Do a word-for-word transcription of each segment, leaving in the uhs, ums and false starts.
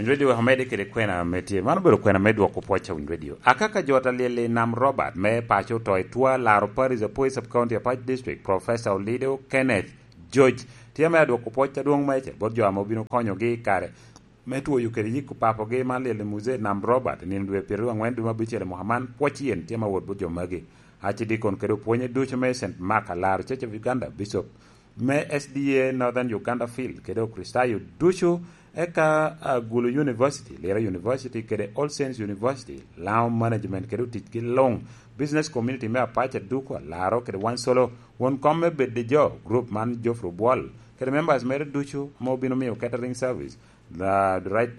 Radio Ahmed kede kwena me tye. Man obedo kwena me dwoko pwoc a winy radio. Akaka jo ta lyel i Nam Robert me paco oto i twa laro Paris Apoy Sub County Apac District, Professor Olido Kenneth George tye me adwoko pwoc adwong meicel bot jo ame obino konyogi i kare me twoyo kede yiko papogi man lyel i Muzee Nam Robert i nino dwe pyeraryo angwen dwe me abicel i mwaka man. Pwoc yen tye ma wot bot jo magi. Archdeacon kede opwonye ducu me Saint Mark alaro Church of Uganda, Bishop me S D A Northern Uganda Field kede Okricitayo ducu, eka Agulu University, Lira University kede All Saints University, Laŋo Management kede oticgi luŋ, Business Community me Apac aduko alaro kede Wansolo, won kom me Bed i Jo, group man Geoffrey Obwol kede members mere ducu ame obino miyo catering service, the right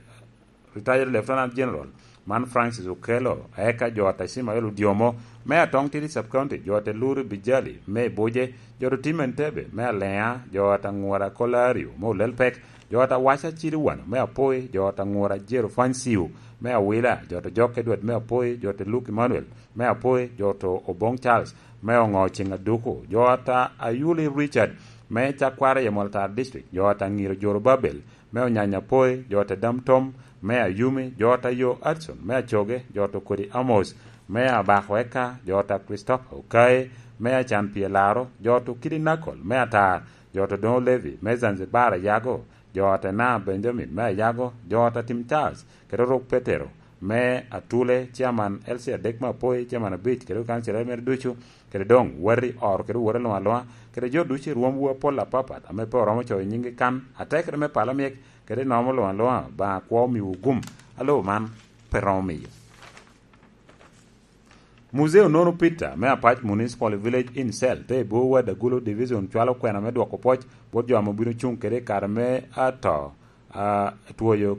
Retired Lieutenant General man Francis Okello, eka jo ata Ismael Odiomo me Atong Tidi Sub County, jo ata Luri Bijali me Ibuje, jo ata Tim Entebbe me Alea, jo ata Ngura Kolario me Olelpek, jo ata Waca Ciliwano me Apoi, jo ata Ngura Jero Fansiu me Awila, jo ata Jok Edward me Apoi, jo ata Luke Emmanuel me Apoi, jo ata Obong Charles me Oŋo Ceŋ Aduku, jo ata Ayuli Richard me Cakwara Yemol Tar District, jo ata Ŋiro Jorobabel me Onyanya Apoi, jo ata Dam Tom me Ayumi, jo ata Yo Adson me Acoge, jo ata Okodi Amos me Abako Eka, jo ata Christopher Okaye me Acan Pye Laro, jo ata Okidi Nakol me Atar, jo ata Odoŋo Levi me Zanzibar Ayago, jo ata Ena Benjamin me Ayago, jo ata Tim Charles kede Orok Petero me Atule, Chairman L C adek me Apoi, Chairman abic kede okancilere mere ducu, kede doŋ wati oro kede woti luŋ aluŋa, kede jo ducu i rwomwu apol apapat ame pe oromo coyo nyiŋgi kan, atekere me pala myek, kede nomo luŋ aluŋa, Obaŋa kwo omiwu gum a lobo man pe romo miyo. Muzee Onono Peter me Apac Municipal Village in Cell te i Bor Ward Agulu Division cwalo kwena me dwoko pwoc bot jo ame obino cuŋ kede i kare me ato, a, twoyo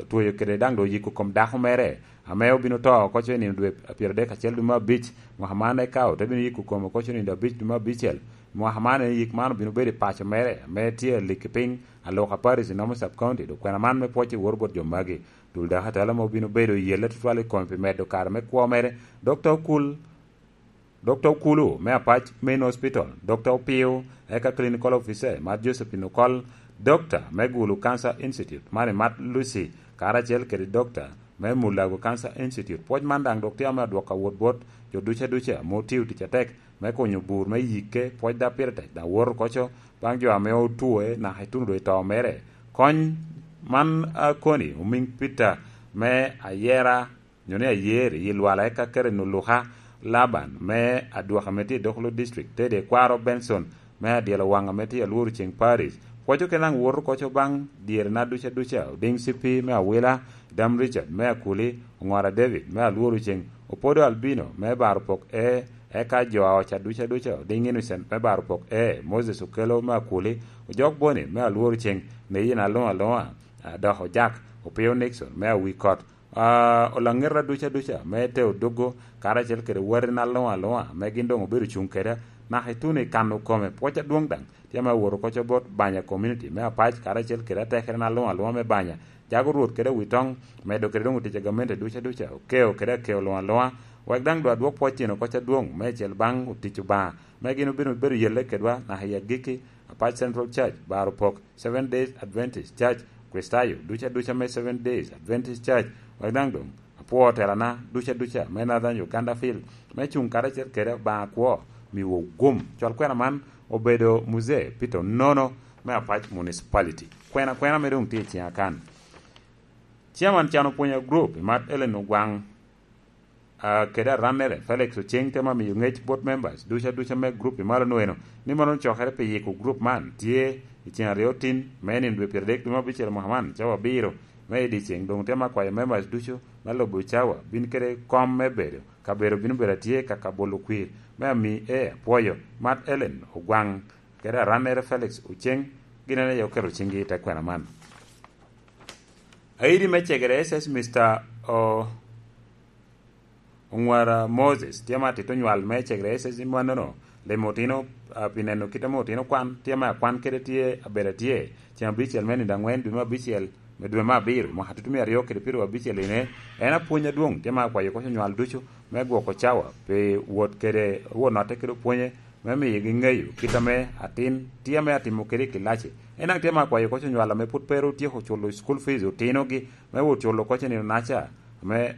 tweyo kede daŋ doŋ yiko kom dako mere ame obino to oko co i nino dwe pyeradek acel dwe me abic mwaka man, eka ote bino yiko kome oko co i nino abic dwe me abicel mwaka man. En yik man obino bedo i paco mere ame tye alik i piny Aloka Parish i Nomo Sub County. Dok kwena man me pwoc i woro bot jo magi, tul dako atala ame obino bedo i yelle tutwal i kome pi medo kare me kwo mere, Dokta Okul Dokta Okulu me Apac Main Hospital, Dokta Opio, eka Clinical Officer Mat Josephine Okol, Dokta me Gulu Cancer Institute man i Mat Lucy, karacel kede Dokta me Mulago Cancer Institute. Pwoc man daŋ dok tye ame adwoko awot bot jo duca duca ame otio tic atek me kunyo bur me yikke, pwoc daŋ pire tek daŋ woto koco baŋ jo ame otwoe naka ituno doŋ i to mere. Kony man a koni omiŋ Peter me Ayera nyo ni Ayer i Lwala, eka Karen Oluka Laban me Adwoka ame tye i Dokolo District, Tede Kwaro Benson me Adyelo Waŋ ame tye i Alworo Ceŋ Parish. Pwoco kede daŋ woto koco baŋ dyerena duca duca, Odiŋ Cippi me Awila, Dam Richard me Akuli, Oŋora David me Alworo Ceŋ, Opodo Albino me Baro Pok E, eka jo a oca duca duca, Odiŋ Innocent me Baro Pok E, Moses Okello me Akuli, Ojok Boni me Alworo Ceŋ, Neyin Aluŋ Aluŋa, a, dok Ojak Opio Nixon me Awikot. Ah, olaŋeta duca duca me te Odoggo, karacel kede watina luŋ aluŋa, ame gin doŋ obedo cuŋ keda, naka ituno i kano kome. Pwoc adwoŋ daŋ tye ame awot oko co bot Banya Community me Apac, karacel kede atekere na luŋ aluŋa me Banya, jago Rwot kede Awitoŋ, medo kede doŋ otic a gamente duca duca, okeo kede akeo luŋ aluŋa, wek daŋ doŋ adwok pwoc tyen oko co adwoŋ, meicel baŋ otic Obaŋa, me gin obino bedo yelle kedwa naka i agikki, Apac Central Church, Baro Pok, Seven Days Adventist Church, Kricitayo duca duca me Seven Days Adventist Church, wek daŋ doŋ apwo telana duca duca me Northern Uganda Field, me cuŋ karacel kede Obaŋa kwo, miwu gum. Cwal kwena man obedo Muzee Peter Onono me Apac Municipality. Kwena kwena me doŋ tye i ciŋa kan. Chairman Cano Pwonya Group, Imat Ellen Ogwaŋ, ah, kede arannere, Felix Oceng, temo miyo ŋec bot members duca duca me group i malo nweno, ni mono cokere pi yiko group man tye i ceng aryo tin, me nino dwe pyeradek dwe me abicel mwaka man, cawa abiro me i dyeceng. Doŋ temo akwayo members ducu me lubo cawa bin kede kom me bedo, kabedo bino bedo atye ka ka bolo kwir me ami e apwoyo, Mat Ellen Ogwaŋ, kede arannere Felix Oceng, gin en aye oketo ciŋgi i te kwena man. Aidi me cegere S S Mister O-, Oŋwara Moses, tye ma atito nywal me cegere S S i mannono, limo otino, ah, pi neno kit ame otino kwan, tye ma akwan kede tye, abedo atye, ceng abicel me nino aŋwen dwe me abicel, me dwe me abiro, mwaka tutumia aryo kede pyeraryo abicel ine, en apwony adwoŋ, tye ma akwayo koc onywal ducu, me gwoko cawa, pi wot kede, wot notte kede opwonye, me miyogi ŋeyo kit ame atin tye ame atimo kede i kilaci. En daŋ tye ame akwayo koc onywal ame pwod pe ru otyeko culo school fees otinogi, me wot culo koc i nino-naca, ame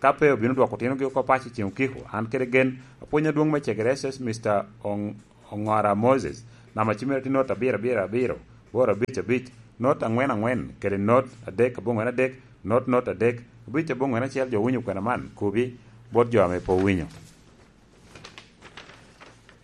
ka pe obino dwoko otinogi oko paco i ceŋ okiko. An kede gen, apwony adwoŋ me Cegere S S, Mister Ong-, Ongora Moses, namba cim mere tye not abiro abiro abiro, boro abic abic, not aŋwen aŋwen, kede not adek aboŋwen adek, not not adek, abic aboŋwen acel. Jo winyo kwena man, kobi bot jo ame pe owinyo.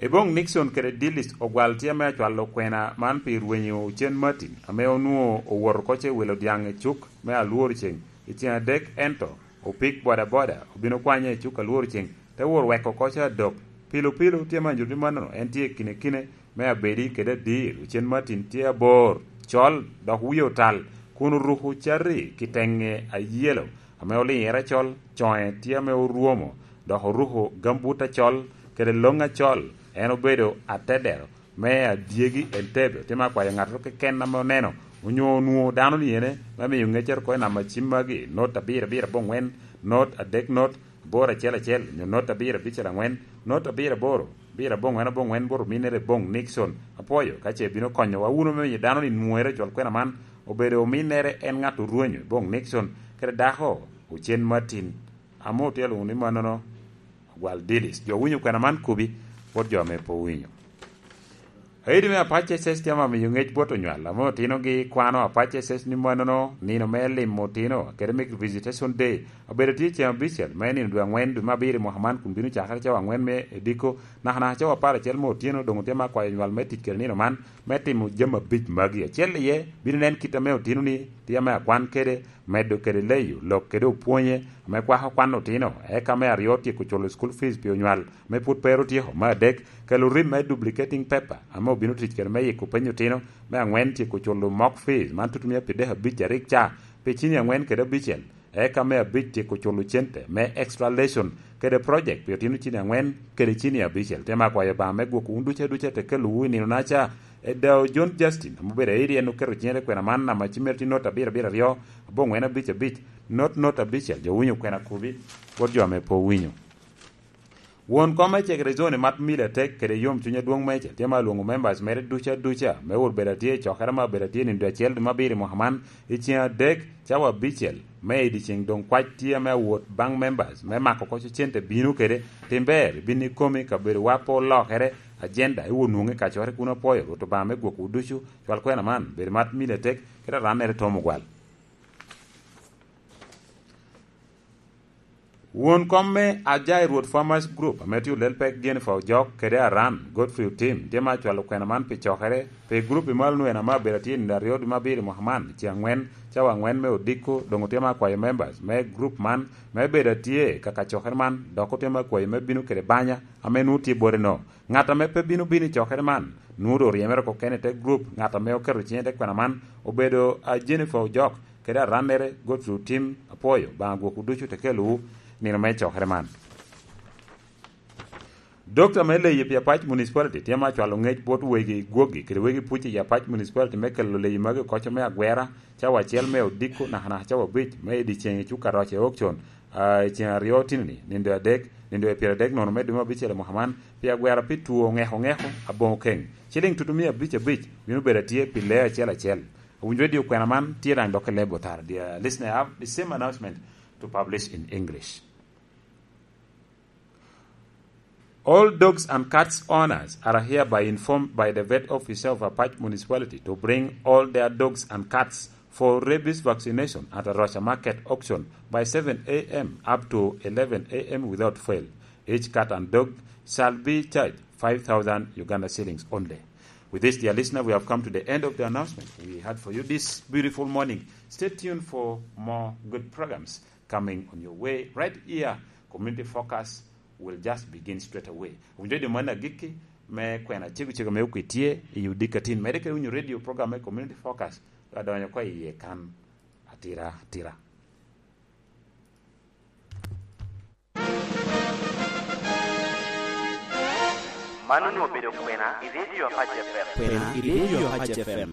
Eboŋ Nixon kede Dillis ogwal tye ame acwalo kwena man pi rwenyo Ocen Martin, ame onwoŋo owoto oko ce wilo dyaŋ i cuk me Alwor Ceŋ i ceŋ adek, ento opik bodaboda obino kwanye i cuk Alwor Ceŋ, te wot weko oko ce adok. Pilo pilo tye ame anyuto ni mannono en tye i kine kine me abedi kede adir. Ocen Martin tye abor, col, dok wie otal, kun oruko cati ki teŋe ayelo ame oliŋere col, coŋe tye ame orwomo, dok oruko gambut acol kede loŋ acol. En obedo atedero me adyegi Entebbe. Otimo akwayo ŋattoro keken ame oneno onyo onwoŋo dano ni ene, me miyo ŋeccere oko i namba cim magi, not abiro abiro aboŋwen, not adek not, aboro acel acel, nyo not abiro abicel aŋwen, not abiro aboro, abiro aboŋwen aboŋwen, bot ominnere Eboŋ Nixon. Apwoyo ka ce ibino konyowa wunu me miyo dano ni nwoŋere cwal kwena man obedo ominnere en ŋat orwenyo Eboŋ Nixon kede dako Ocen Martin. Ame otye alwoŋo ni mannono, Ogwal Didis. Jo winyo kwena man kobi, bot jo ame pe owinyo. Aidi me Apac S S tye ame amiyo ŋec bot onywal, ame otinogi kwano Apac S S ni mannono nino me limo otino, kede me Visitation Day. Obedo tye ceŋ abicel me nino dwe aŋwen, dwe me abiro i mwaka man, kun bino cakere cawa aŋwen me odiko, nakanaka cawa apar acel me otyeno. Doŋ otye ame akwayo onywal me tic kede nino man, me timo jami abic magi. Acel iye, bino nen kit ame otino ni tye ame akwan kede, medo kede leyo lok kede opwonye ame kwako kwan otino, eka me aryo tyeko culo school fees pi onywal ame pwod pe ru otyeko, me adek kelo rim me duplicating paper ame obino tic kede me yiko peny otino, me aŋwen tyeko culo mock fees man tutumia pi dek abic arik ca pi cini aŋwen kede abicel, eka me abic tyeko culo cente me extra lesson kede project pi otino cini aŋwen kede cini abicel. Tye ame akwayo Obaŋa me gwoko wun ducu aduca te kelowu i nino-naca. Edao John Justin, ame obedo airi, en oketo ciŋe te kwena man, namba cim mere tye not abiro abiro aryo, aboŋwen abic abic, not not abicel. Jo winyo kwena kobi, bot jo ame pe owinyo. Won kom me Cegere Zone, Mat Mili Atek, kede yom cuny adwoŋ meicel, tye ma alwoŋo members mere ducu aduca me wot bedo atye i cokere ma obedo atye nino dwe acel dwe me abiro i mwaka man, i ceŋ adek, cawa abicel me i dyeceŋ. Doŋ kwac tye ame awot baŋ members me mako koc cente bino kede tim ber i bin ikomi. Kabedowa pe olokere, agenda i wot nwoŋe kacokere kun. Apwoyo Rwot Obaŋa me gwokwu ducu. Cwal kwena man, bedo Mat Mili Atek, kede arannere Tom Ogwal. Won kom me Ajai Rwot Farmers Group, ame tye olel pek Jennifer Ojok, kede Aran Godfrey Otim, tye ma acwalo kwena man pi cokere pi grup i malo nwen ame abedo atye i nino aryo dwe me abiro i mwaka man, ceŋ aŋwen, cawa aŋwen me odiko. Doŋ otye ma akwayo members me grup man me bedo atye ka kacokere man, dok otye ma akwayo me bino kede banya ame nwoŋo tye bote-no. Ŋat ame pe bino bino i cokere man, nwoŋo doŋ oryemere oko kene i te grup. Ŋat ame oketo ciŋe i te kwena man obedo, a, Jennifer Ojok, kede arannere Godfrey Otim. Apwoyo Obaŋa gwokwu ducu te kelowu nino me cokere man. Dokta me leyi pi Apac Municipality tye ma acwalo ŋec bot wegi gwoggi kede wegi puc i Apac Municipality me kelo leyi magi oko me agwera, cawa acel me odiko nakanaka cawa abic me i dyeceŋ i cuk Aroca i Okcon, a, i ceŋ aryo otino-ni, nindo adek, nindo e pyeradek nono me dwe me abicel i mwaka man, pi agwera pi two ŋeko ŋeko aboŋo keŋ. Ciliŋ tutumia abic abic bino bedo atye pi lee acel acel. Owinyo redio kwena man tye daŋ dok i leb otara. Dear listener, I have the same announcement to publish in English. All dogs and cats owners are hereby informed by the vet officer of Apac Municipality to bring all their dogs and cats for rabies vaccination at Aroca Market Auction by seven a m up to eleven a m without fail. Each cat and dog shall be charged five thousand Uganda shillings only. With this, dear listener, we have come to the end of the announcement we had for you this beautiful morning. Stay tuned for more good programs coming on your way right here. Community Focus will just begin straight away. Owinyo redio man agikki me kwena cego cego me okwe tye i odikatin. Mede kede winyo radio program me Community Focus, adonyo oko i iye kan atira atira. Man onwoŋo obedo kwena i Radio Apac F M. Kwena i Radio Apac F M.